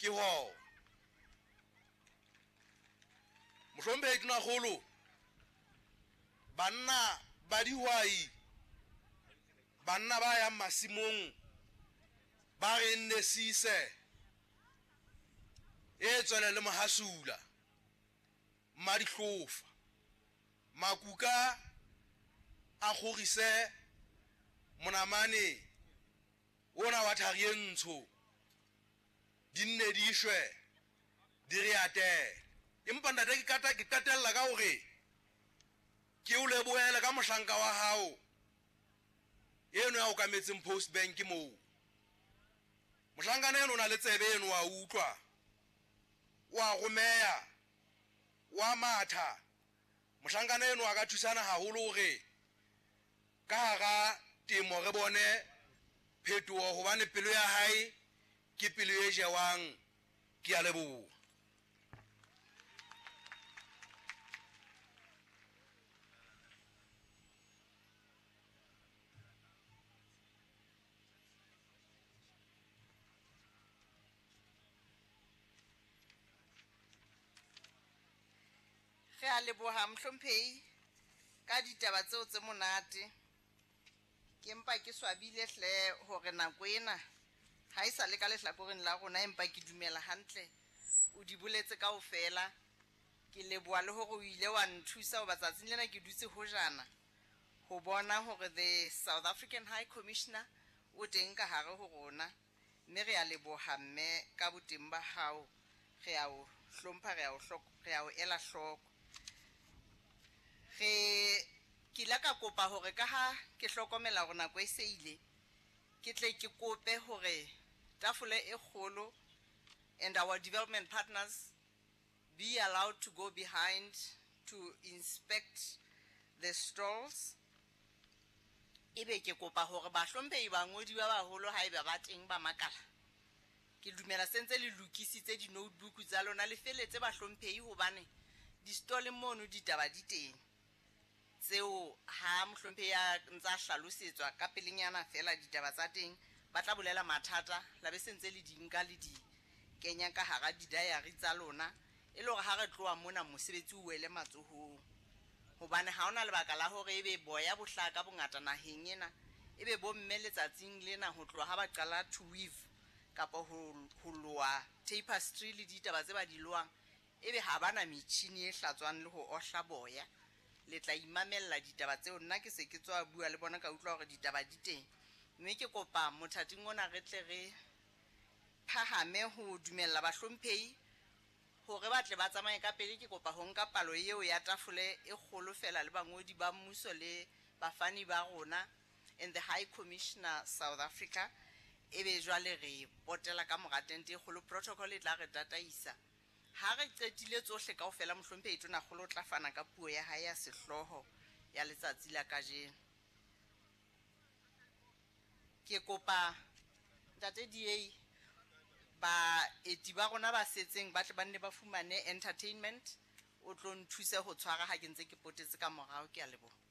Ke hona. Mohlomphehi Tonakgolo, banna ba dihwai, banna ba yang masimong ba re nne sise e tswele le mohasula mmadihlofa makuka a kgorise monamane ona wa thari e ntsho di nne di shwe di re atele. Empa ntate ke qetella ka hore ke o lebohele ka mohlanka wa hao eno ya okametseng Post Bank moo. Mohlankana eno o na le tsebe eno wa utlwa, wa romeya, wa matha. Mohlankana eno a ka thusana haholo hore ka hara temo re bone phetoho, hobane pelo ya hae ke pelo e jewang. Ke a leboha. Re a leboha mohlomphehi ka ditaba tseo tse monate. Ke mpa ke swabile hle hore nako ena ha e sa le ka lehlakoreng la rona, empa ke dumela hantle o di boletse kaofela. Ke leboha le hore o ile wa nthusa hoba tsatsing lena ke dutse hojana ho bona hore the South African High Commissioner o teng ka hare ho rona, mme re a leboha mme ka boteng ba hao, re a o hlompha, re a o ela hloko. Re ke ile ka kopa hore ka ha ke hlokomela hore nako e se ile, ke tle ke kope hore tafole e kgolo and our development partners be allowed to go behind to inspect the stalls. Ebe ke kopa hore bahlomphehi bangodi ba baholo haeba ba teng ba makala, ke dumela sentse le lokisitse di-notebook tsa lona, le feletse bahlomphehi, hobane di-stalleng mono ditaba di teng tseo ha mohlomphehi a ntsa hlalosetswa ka pelenyana fela ditaba tsa teng, ba tla bolela mathata la be sentse le di nka le di kenya ka hara di-diary tsa lona, e le hore ha re tloha mona mosebetsi o wele matsohong. Hobane ha hona lebaka la hore ebe boya bo hlaha ka bongata naheng ena, ebe bomme letsatsing lena ho tloha ha ba qala to weave kapa ho loa tapestry le ditaba tse ba di loang, ebe ha bana metjhini e hlatswang le ho ohla boya. Le tla imamella ditaba tseo. Nna ke se ke tswa bua le bona, ka utlwa hore ditaba di teng, mme ke kopa mothating ona re tle re phahame ho dumella bahlomphehi hore ba tle ba tsamaye ka pele. Ke kopa ho nka palo eo ya tafole e kgolo fela le bangodi ba mmuso le bafani ba rona and the High Commissioner South Africa, ebe jwale re potela ka mora tente e kgolo. Protocol e tla re tataisa. Ha re qetile tsohle kaofela, mohlomphehi Tonakgolo o tla fana ka puo ya hae ya sehlooho ya letsatsi la kajeno. Ke kopa ntate DA baeti ba rona ba setseng ba tle ba nne ba fumane entertainment, o tlo nthuse ho tshwara ha ke ntse ke potetse ka morao. Ke a leboha.